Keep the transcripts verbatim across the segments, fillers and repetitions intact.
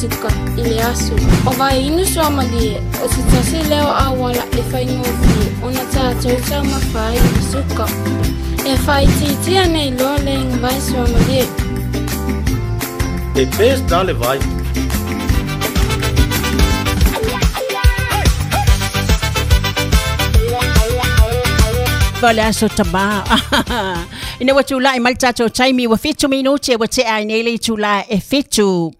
suka i le aso. O vaeinu suamalie, o se tasi lea o auala e faigofie ona tatou taumafa ai i le suka. E faaitiitia nei loa le vai suamalie. E pèse dans le vai. Vale aso tama. Ina wa tula i malta to taimi wa fitu minuti wa te ai nele tula e fitu.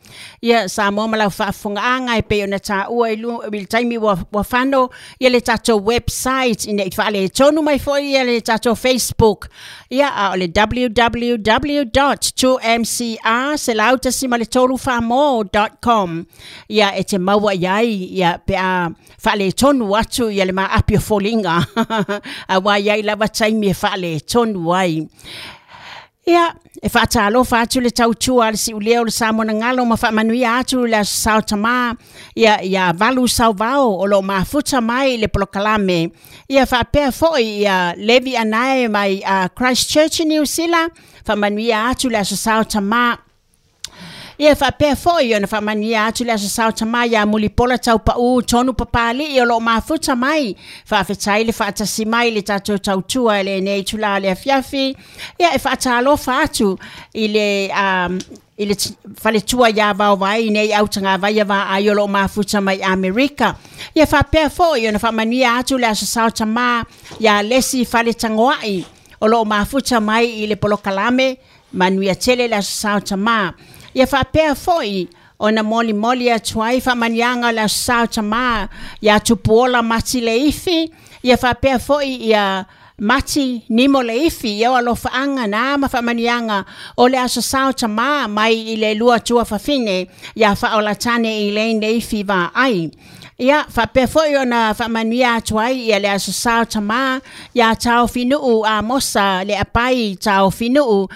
Ia sa mo mala faafunga anga e pe ona ta ua ilu il taimi wa wa fano ia le tatou website ina i faale tonu mai foi ia le tatou Facebook. Ia a o le w w w dot two m c r selauta simaletolu famo dot com. Ia e te maua iai ia pe a faale tonu atu ia le ma api o folinga. A wa iai lava taimi e faale tonu ai. Ia, e whaatalofa atu le tautua le siulea o le Samoa ngalo ma whaamanuia atu le aso sao ia, ia valu sauvao o lo mafuta mai le polokalame. Ia whaapea foi ia Levi Anae mai uh, Christchurch New Zealand, whaamanuia atu le aso sao tamā. Ia whaapea foi ona whaamanuia atu le aso sao tamā ia mulipola taupau tonu papali o lo mafuta mai. Whaafetai le whaatasi mai le tatou tautua le nei tula le afiafi. Ia e whaatalofa atu i le... Um, i le faletua ia vaovai nei autanga vai va ai o lo mafuta mai Amerika. Ia whaapea foi ona whaamanuia atu le aso sao tamā ia lesi faletangoai o lo mafuta mai i le polokalame manuia tele le aso sao tamā. Ia whaapea foi ona moli moli atu ai whaamanianga le aso sao tamā ia tupuola mati le ifi. Ia whaapea foi ia mati nimo le ifi ia alofaanga na ma whaamanianga o le aso sao tamā mai i le lua tua whawhine ia whaolatane i le ifi va ai. Ia whaapea foi ona whaamanuia atu ai ia le aso sao tamā ia tau finuu a mosa le apai tau finuu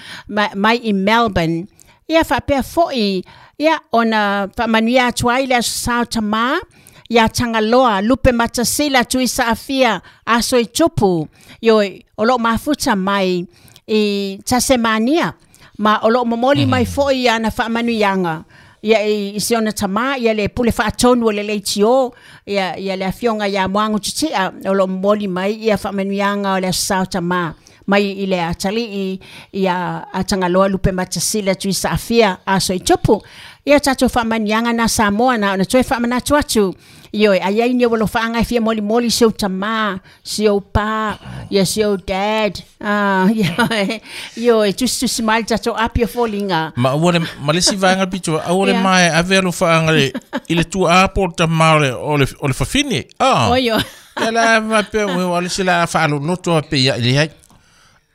mai i Melbourne. Ia whaapea foi ia ona whaamanuia atu ai le aso sao tamā ia Tangaloa Lupe Matasila tui saafia aso i tupu ioi o lo mafuta mai i Tasmania ma o lo momoli mai foi ana whaamanuianga ia i si ona tamā ia le pule whaatonu o le leitio ia, ia le afionga ia moangu tutia o lo momoli mai ia whaamanuianga o le aso sao tamā mai i le atali i ia a Tangaloa Lupe Matasila tui saafia aso i tupu. Ia tatou whaamanianga na Samoa na ona toe whaamanatu atu. Ioi, ai ai ni walo whaanga e fia moli moli si au tamā, si au pā, ia si au dad. Ah, ioi, ioi, tusi tusi mai tatou api o folinga. Ma ua le, ma le si vaenga pito, aua le mai ave alo whaanga le, i le tua apo o le tamā o le, o le, o le whawhine. Ah. Oio. Ia la ma pe, o le si la whaalo noto a pe ia i le hai.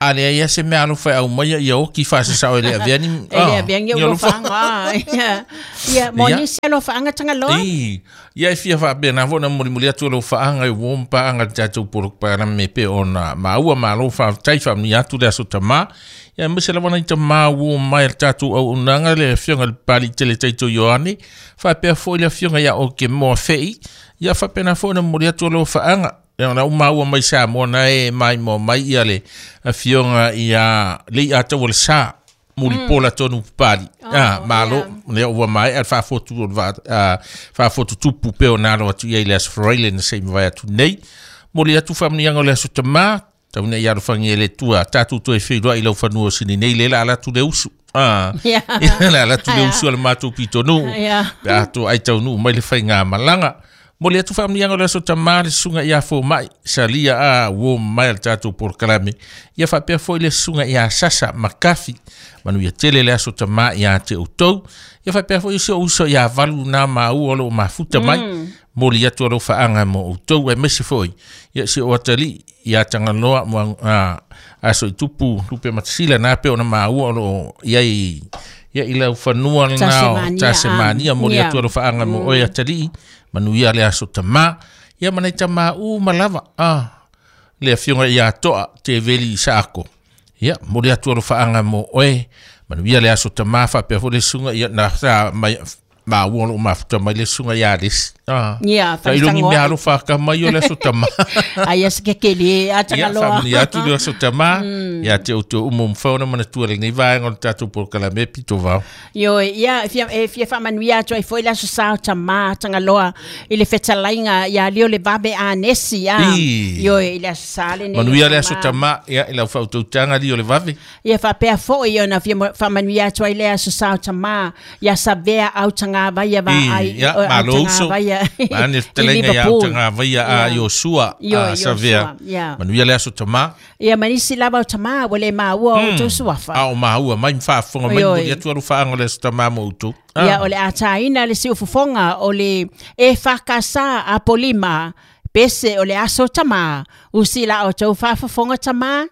Ale ia se mea alofa au mai ia oki fa sa o le aviani e le aviani o faanga ia ia moni se lo faanga tanga lo i ia fia fa be na vona moli moli atu lo faanga e wompa anga tatu por para me pe ona maua malo fa tai fa ni atu le aso tama ia me se la vona tama wo mai tatu au unanga le fionga le pali tele taito Ioane fa pe fo le fionga ia o ke mo fei ia fa pe na fona moli atu lo faanga ia na uma mai sa mo na e mai mo mai ia le afionga ia le a tau le sa mulipola tonu pali ah malo ne ua mai al fa fotu va fa fotu tupu pe ona lo atu ia le as freile na sei vai atu nei moli atu family ngo le aso tama tau nei ia fangi le tua tatu tu e fi lo i lo fanua sini nei le la tu le usu ah la la tu le usu al matu pitonu a tu ai tau nu mai le fainga malanga moli atu family ngo le aso tama le sunga ia fo mai salia a wo mai tatu por kalame ia fa pe fo le sunga ia sasa makafi manu ia tele le aso tama ia te utou ia fa pe fo iso uso ia valu na ma u o mafuta mai moli atu alo faanga mo utou e mesi foi ia si o atali ia tangaloa mo a aso i tupu tupe matsila na pe ona ma u o ia i ia ila fanua na Tasmania moli atu alo faanga mo o atali manu ia le aso tama ia manai tama u malava ah le afionga ia toa te veli saako ia moli atu alo faanga mo oe manu ia le aso tama fa pe fo le sunga ia na sa mai Ma ua lo mafuta mai le suga ia lesi. Ah. Ia, Ta ilongi faletangoa. mea alo whaka mai o le aso tama. Ai se ke kele a Ia, tangaloa. whamani atu le aso tama. Ia te o te umo mwhaona mana tua le nei vaenga o le tātou polokalame pito vao. Io ia fia e fia faamanuia atu ai foi le aso sa o tamā tagaloa i le fetalaiga ia lio le vave anesi a I. io i le aso sa lenei Manuia le aso tama, ia, i lau whautautanga li o le vave. Ia faapea foʻi ona fia mo- faamanuia atu ai le aso sa o tamā ia savea autagavaia I, vaai ia, malo uso. Mane i fetalaiga ia Liverpool. autagavaia a Ia. Iosua Io, a Savea. Iosua, ia. Manuia le aso tama. Ia manisi lava o tamā ua le maua o outou suafa. A o maua mai mwhaafonga mai Oi, oi. muli atu alu whaanga le aso tama mo utou. Ia o le ataina le siufofoga o le e fakasa a polima pese o le aso tamā usi la o tou faafofoga tamā.